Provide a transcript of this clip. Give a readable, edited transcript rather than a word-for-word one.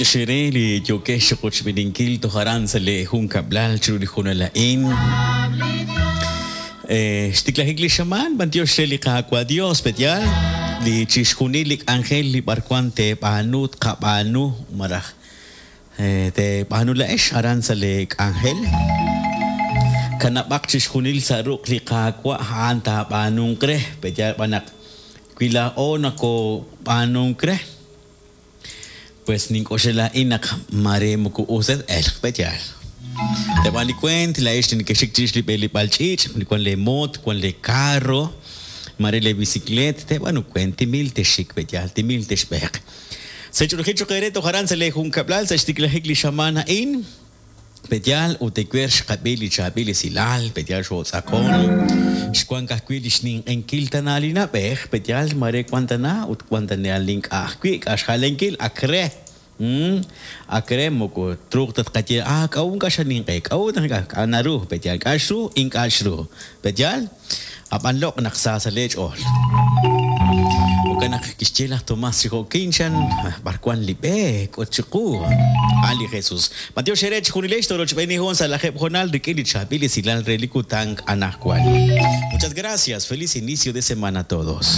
B'antiox eere li yookex chiqochb'eeninkil toj aran sa' lee junkab'lal chiru li hoonal a'in. Xtiklajik li xamaan, b'antiox re li Qaawa' Dios, pe'yaal? Li chixjunil li k'anjel li b'arwan teeb'aanu, tqab'aanu, malaj teeb'aanu laa'ex aran sa' lee k'anjel. Kanab'aq chixjunil sa' ruq' li Qaawa', a'an taab'aanunq re, pe'yaal b'an naq wi laa'o nokob'aanunk re, Pues nink'oxla laa'in naq maare moko us ta t-elq, pe'yaal? Teeb'aan li weent, laa'ex li nekexxik chirix li b'eleb'aal ch'iich', li wank leemoot, wank leekarro, maare leeb'isikleet, teeb'aanu weent, timil texxik, pe'yaal? Timil texb'eeq. Sa' ch'oolejil cho'q eere toj aran sa' leejunkab'lal sa' xtiklajik li xamaan a'in. Pe'yaal ut ewer xqab'i li chaab'il esilal, pe'yaal xootz'aqon, xwank ajwi' li xninq'enkil tana li na'b'ej, pe'yaal maare wan tana ut wan tana li ink'a' ajwi' k'a' xjalenkil ak re, ak re moko truuq ta tqaye ah k'a'ut ink'a' xaninq'e, k'a'ut naq ink'a', k'a' naru, pe'yaal k'a' xru, ink'a' xru, pe'yaal? Ab'an loq' naq sa sa' lee ch'ool. Jo'kan naq kixye laj Tomás chi jo'kin, chan, B'ar wank li b'e? K'ut chiqu. A'an li Jesús. B'antiox eere chejunilex toorochb'eeni hoon sa' lajeeb' hoonal rik'in li chaab'il esilal re li kutan anaqwan. Muchas gracias. Feliz inicio de semana a todos.